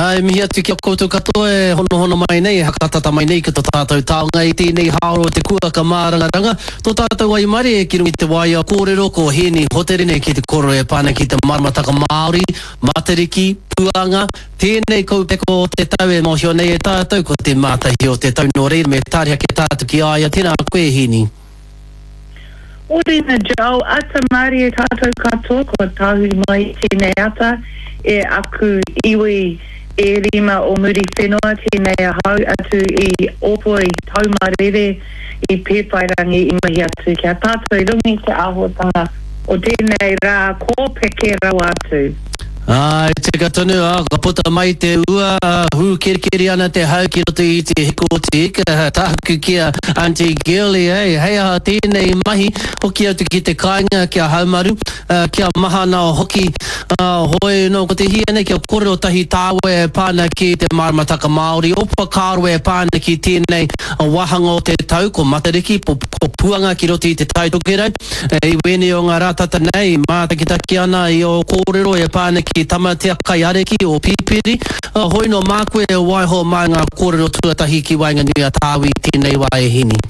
E mihi atu ki a koutou katoa e honohono mai nei, e hakatata mai nei ki to tātou taonga i tēnei haora o te kuaka mārangaranga, tō tātou waimarie ki runga i te waea kōrero ko Hēni Hoterene ki te kōrero e pā ana ki te maramataka Māori, Matariki, Puanga, tēnei kaupeka o te tau e mōhio nei e tātou ko te mātahi o te tau nō reira me tāria ake tātou ki a ia, tēnā koe Hēni. Orina Joel, Ata mārie tātou katoa kua tahuri mai i tēnei ata e aku iwi e rima o Muriwhenua tēnei ahau atu i Ōpua i Taumarere i Pēwhairangi i mihi atu ki a tātou i runga i te āhuatanga o tēnei rā kōpeke rawa atu. Āe, tika tonu, ā, ka puta mai te ua, ā, hūkerikeri ana te hau ki roto i te hiko o te ika, tāku ki a Aunty Girlie, hei, hei aha tēnei mahi, hoki atu ki te kāinga kia haumaru, ā, kia mahana hoki, ā, hoi anō, ko te hia nei kia kōrero tahi tāua e pā ana ki te maramataka Māori, o whakaaro e pā ana ki tēnei wāhanga o te tau, ko Matariki, ko Puanga ki roto i Te Tai Tokerau. I wēnei o ngā rā tata nei, mātakitaki ana i ō kōrero e pā ana ki Tamatea Kaiariki o Pipiri. Hoi nō māku e waiho mā ngā kōrero tuatahi ki waenganui a Tāwi tēnei wā e Hini.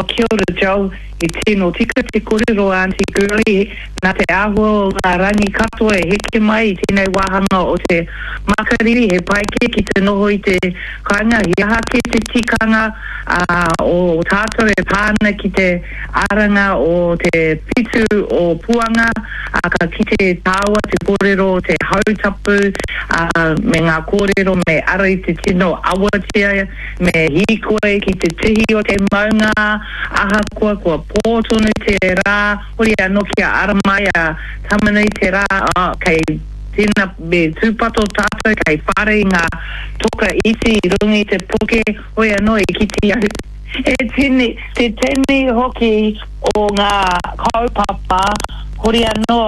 Oh kia ora Joel, he tino tika te korero Aunty Girlie, nā te āhua o ngā rangi katoa e heke mai i tēnei wāhanga o te makariri, he pai kē ki te noho i te kāinga, he aha kē te tikanga o tātou e pā ana ki te aranga o te whitu o Puanga, ā, ka kite tāua te kōrero o te hautapu, ā, me ngā kōrero me ara i te tino awatea, me hīkoi ki te tihi o te maunga, ahakoa kua pō tonu te rā, hori anō kia ara mai a Tamanui te rā, ā, kei tēnā me tūpato tātou kei whare i ngā toka iti i runga i te puke, hoi anō i kite au he tini, te tini hoki o ngā kaupapa, hori anō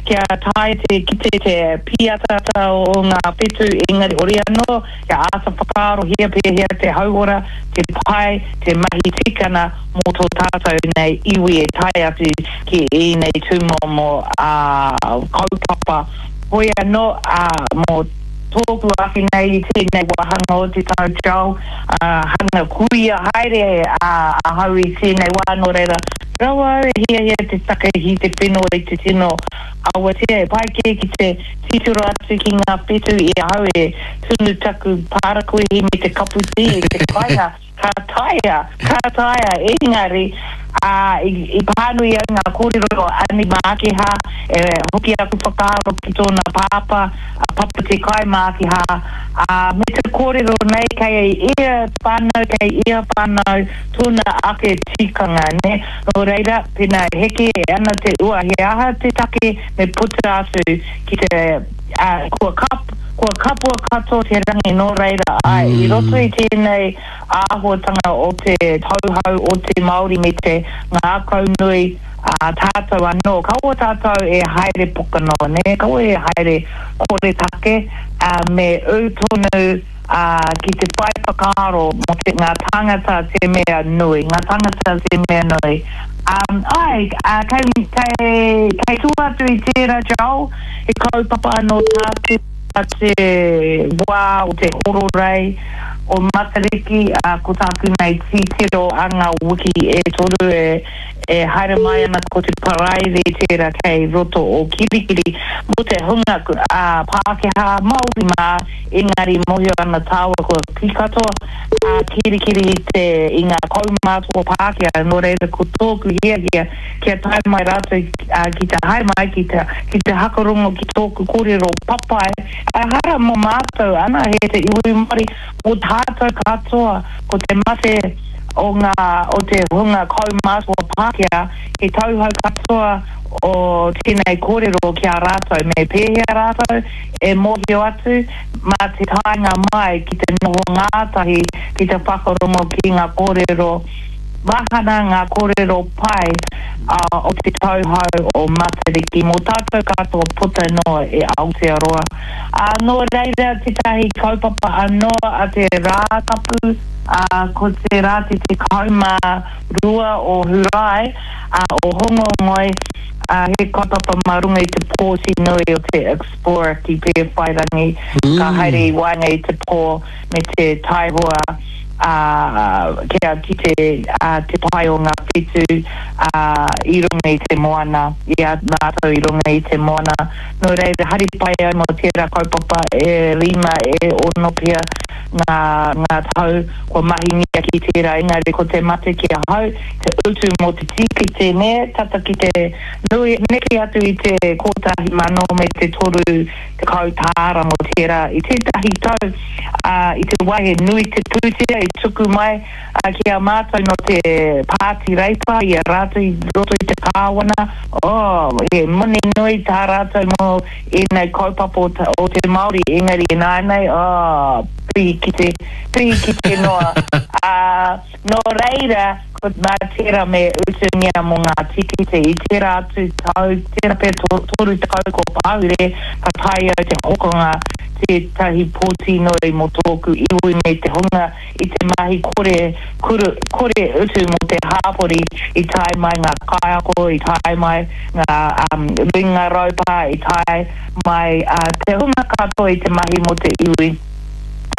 kia taea te kite te pīataata o ngā whetū, engari hori anō kia āta whakaarohia pēhea te hauora, te pai, te mahi tikana mō tō tātou nei iwi e tae atu ki ēnei tūmomo kaupapa. Hoi anō, mō tōku ake nei i tēnei wāhanga o te tau Joel, hanga kuia haere ahau i tēnei wā, nō reira, rawa au e hiahia te takahi te whenua i te tino awatea, e pai kē ki te titiro atu ki ngā whetū i ahau e tunu taku pārakuihi me te kapu tī i te kāinga. Ka taea, ka taea, engari, ā, i pānui au ngā kōrero o Ani Mākiha, e hoki aku whakaaro ki tōna pāpā, a Papa Te Kai Mākiha, ā, me te kōrero nei kei ia whānau, kei ia whānau tōna ake tikanga, nē. Nō reira, pēnā e heke ana te ua, he aha te take me puta atu ki te, ā, kua kap, kua kapua katoa te rangi, nō reira, āe, i roto i tēnei āhuatanga o te tauhou o te Māori me te ngākaunui ā tātou anō, kaua tātou e haere poka noa, nē, kaua e haere koretake, ā, me ū tonu, ā, ki te whai whakaaro mō te, ngā tāngata te mea nui, ngā tāngata te mea nui. Ā, āe, ā, kei, kei, kei tua atu i tērā, Joel, he kaupapa anō tāku te wā o te hororei o Matariki, ā, ko tāku nei titiro a ngā wiki e toru e, e haere mai ana ko te Paraire tērā kei roto o Kirikiri, mō te hunga, ā, Pākehā, Māori mā, engari mōhio ana tāua kua kī katoa a Kirikiri i te, i ngā kaumātua Pākehā, nō reira ko tōku hiahia kia tae mai rātou ki te haere mai ki te, ki te hakarongo ki tōku kōrero papai, ehara mō mātou anahe te iwi Māori, mō tātou katoa, ko te mate o ngā, o te hunga kaumātua Pākehā, he tauhou katoa o tēnei kōrero ki a rātou, me pēhea rātou e mōhio atu, mā te taenga mai ki te noho ngātahi ki te whakarongo ki ngā kōrero. Mahana ngā kōrero pai o te tauhou o Matariki mō tātou katoa puta noa i Aotearoa. Ā, nō reira tētahi kaupapa anō a te Rātapu, ā, ko te rā te 12 o Hurae, ā, o Hongongoi, ā, he kaupapa mā runga i te pōti nui o te Explorer ki Pēwhairangi, ka haere i waenga i te pō me te taihoa. ā, kia kite te pae o ngā whetū i runga i te moana, i a rātou i runga i te moana. Nō reira, hari pai au mō tērā kaupapa e rima, e ono pea ngā, ngā tau kua mahingia ki tērā, engari ko te mate ki ahau, te utu mō te tīkiti, nē, tata ki te nui, neke atu i te 1,000 me te 30 tāra mō tērā. I tētahi tau, ā, i te wā he nui te pūtea i tuku mai ki a mātou nō te Pāti Reipa i a rātou i roto i te kāwana, oh, he moni nui tā rātou mō ēnei kaupapa o te Māori, engari ināianei, oh, pihikite, pihikite noa. Ā, nō reira, ko nā tērā me utungia mō ngā tīkiti. I tērā atu tau, tērā pea 30 kua pahure, ka tae au te hokonga tētahi pōti nui mō tōku iwi me te hunga i te mahi kore kuru, kore utu mō te hāpori, i tae mai ngā kaiako, i tae mai ngā um, ringa raupā, i tae mai uh, te hunga katoa i te mahi mō te iwi.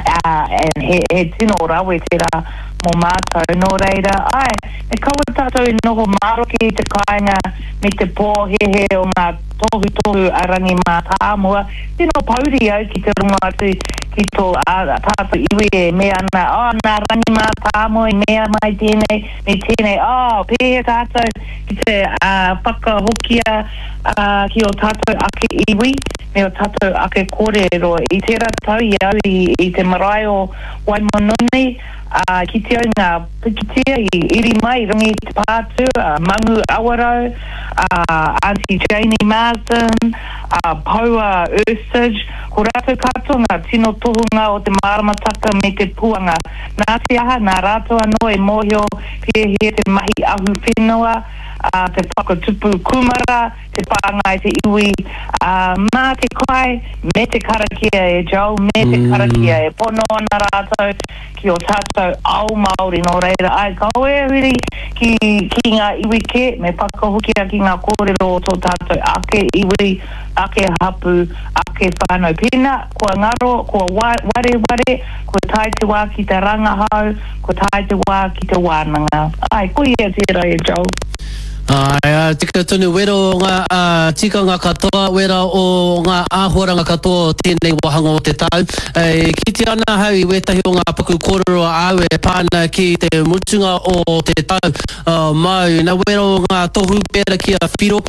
Uh, and he, he tino rawe tērā mō mātou. Nō reira, āe, me kaua tātou i noho maroke i te kāinga me te pōhēhē o ngā tohutohu a Rangi Mātāmua. Tino pouri au ki te rongo atu ki tō tātou iwi e mea ana, oh, nā Rangi Mātāmua i mea mai tēnei me tēnei, oh, pēhea tātou ki te whakahokia ki ō tātou ake iwi me ō tātou ake kōrero. I tērā tau i au i te marae o Waimanoni, ā, kite au ngā pikitia i iri mai i runga i te pātū, a Mangu Awarau, a Aunty Janie Marsden, a Poua Ursage, ko rātou katoa ngā tino tohunga o te māramataka me te puanga. Nā te aha, nā rātou anō e mōhio pēhea te mahi ahuwhenua, ā, te whakatupu kūmara, te whāngai te iwi, ā, mā te kai me te karakia e Joel, me te karakia e pono ana rātou ki ō tātou ao Māori, nō reira, āe, kaua e huri ki, ki ngā iwi kē, me whakahokia ki ngā kōrero o tō tātou ake iwi, ake hapū, ake whānau. Pēnā, kua ngaro, kua wareware, kua tae te wā ki te rangahau, kua tae te wā ki te wānanga. Āe, koia tērā e Joel. Āe, ā, tika tonu, wera o ngā tikanga katoa, wera o ngā āhuaranga katoa o tēnei wāhanga o te tau. E kite ana ahau i wētahi o ngā paku kōrero āu e pā ana ki te mutunga o te tau māu. Na, wera o ngā tohu pērā ki a Whiro,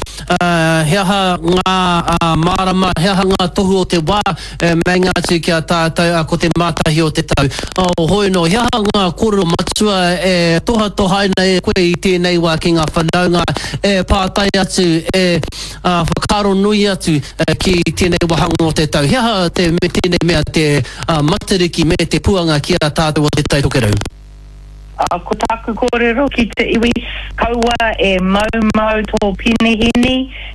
he aha ngā mārama, he aha ngā tohu o te wā E meinga atu ki a tātou, ā, ko te mātahi o te tau. Ō, hoi anō, he aha ngā kōrero matua e tohatohaina e koe i tēnei wā ki ngā whanaunga e pātai atu, e whakaaro nui atu ki tēnei wāhanga o te tau? He aha te, tēnei mea te Matariki me te puanga ki a tātou o Te Tai Tokerau? Ā, ko tāku kōrero ki te iwi, kaua e maumau tō penehīni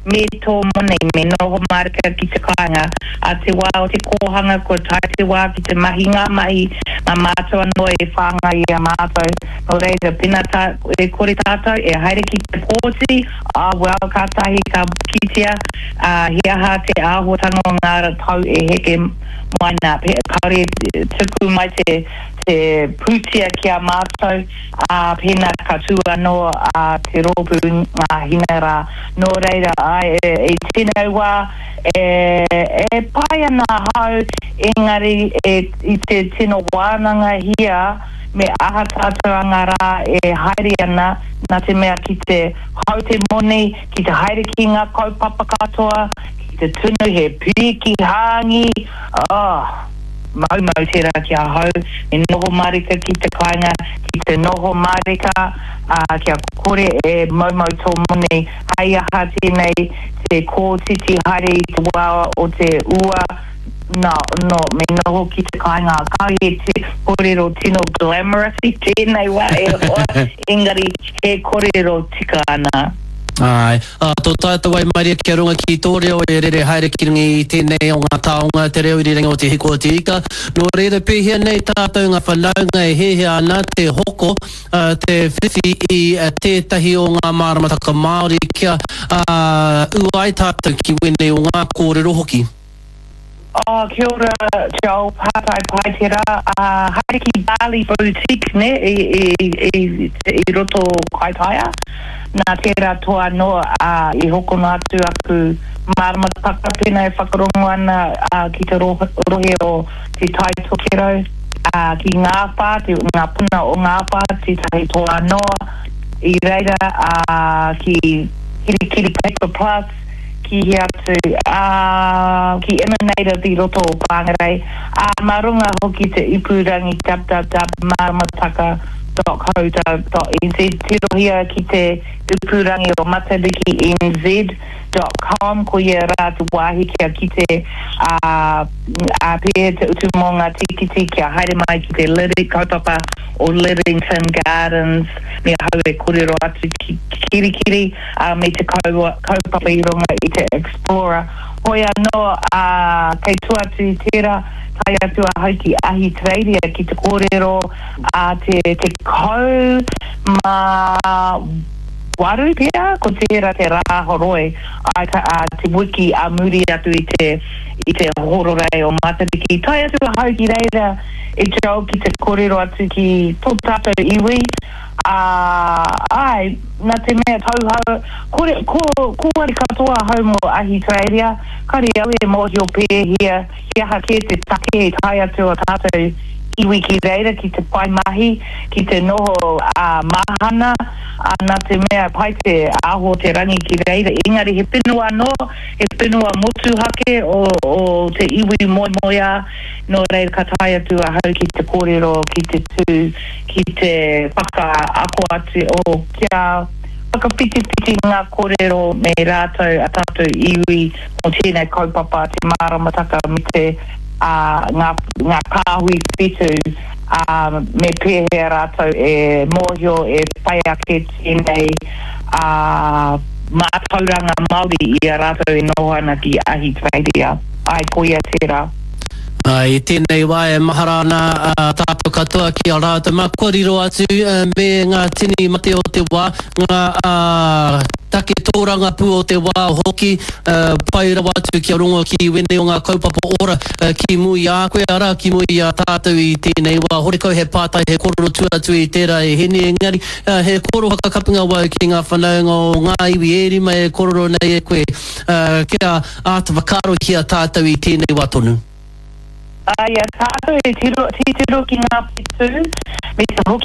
me tō moni, me noho mārika ki te kāinga. Ā te wā o te kōhanga, kua tae te wā ki te mahi ngā mahi, mā mātou anō e whāngai i a mātou. Nō reira, pēnā tā, e kore tātou e haere ki te pōti, ā, well, kātahi ka kitea, ā, he aha te āhuatanga o ngā tau e heke mai nā. Kāore e tuku mai te. te pūtea ki a mātou, ā, pēnā ka tū anō a te rōpū Ngā Hina rā. Nō reira, āe, i tēnei wā, e, e pai ana ahau, engari e, i te tino wānangahia me aha tātou a ngā rā e haere ana, nā te mea ki te hau te moni, ki te haere ki ngā kaupapa katoa, ki te tunu he pīki hāngī, oh! Maumau tērā ki ahau, me noho mārika ki te kāinga, ki te noho mārika, ā, kia kore e maumau tō moni, hei aha tēnei te kōtiti haere i te wā o te ua, nā, no, me noho ki te kāinga, kāore te. korero tino glamorous i tēnei wā e hoa, engari he korero tika ana. Āe. Ā, tō tātou waimarie kia runga ki tō reo e rere haere ki runga i tēnei o ngā taonga, te reo irirangi o Te Hiko o Te Ika. Nō reira, pēhea nei tātou ngā whanaunga e hiahia ana te hoko, te whiwhi i tētahi o ngā māramataka Māori kia ū ai tātou ki wēnei o ngā kōrero hoki? Oh, kia ora, Joel, pātai pai tērā. Uh, haere ki Bali Boutique, ne, i, i, i, i roto o Kaitaia. Nā tērā toa anō, uh, i hokona atu aku māramataka pēnā e whakarongo ana uh, ki te rohe o Te Tai Tokerau, uh, ki Ngāwhā, te, ngā puna o Ngāwhā, tētahi toa anō. I reira, uh, ki Kirikiri Paper Plus, ki hea atu, ā, ki Emanative i roto o Whangarei, ā, mā runga hoki te ipurangi www.maramataka.co.nz, tirohia ki te ipurangi o Matariki NZ dot com, koia rā te wāhi kia kite, ā, ā, pēhea te utu mō ngā tīkiti kia haere mai ki te Liri, kaupapa o Lidington Gardens, me ahau e kōrero atu ki Kirikiri. ā, me te kaupapa i runga i te Explorer. Hoi anō, ā, kei tua atu i tērā, tae atu ahau ki Ahitereiria ki te kōrero a te 18 pea, ko tērā te rā horoi, āe, ka, ā, te wiki ā muri atu i te, i te hororei o Matariki. Tae atu ahau ki reira e Joel ki te kōrero atu ki tō tātou iwi, Ā, āe, nā te mea tauhou, kore, ko, kōwari katoa ahau mō Ahitereiria, kāre au e mōhio pēhea, he aha kē te take i tae atu a tātou iwi ki reira ki te whai mahi, ki te noho, ā, mahana, ā, nā te mea pai te aho o te rangi ki reira, engari he whenua anō, he whenua motuhake o, o te iwi moemoeā, nō reira ka tae atu ahau ki te kōrero, ki te tū. ki te whakaako atu, oh, kia whakawhitiwhiti ngā kōrero me rātou a tātou iwi mō tēnei kaupapa, te māramataka me te, ā, ngā, ngā kāhui whetū, ā, me pēhea rātou e mōhio, e whai ake tēnei, ā, mātauranga Māori i a rātou e noho ana ki Ahitereiria. Āe, koia tērā. Ā, i tēnei wā e mahara ana a tātou katoa ki a rātou mā kua riro atu me ngā tini mate o te wā, ngā take tōrangapū o te wā hoki, pai rawa atu kia rongo ki wēnei o ngā kaupapa ora ki mua i a koe, arā, ki mua i a tātou i tēnei wā. Horekau he pātai, he korero tua atu i tērā e Heni, engari he kōrero whakakapinga wau ki ngā whanaunga o ngā iwi e rima e korero nei e koe kia Āta whakaarohia tātou i tēnei wā tonu. I a tātou e titiro ki ngā whetū, me te hoki.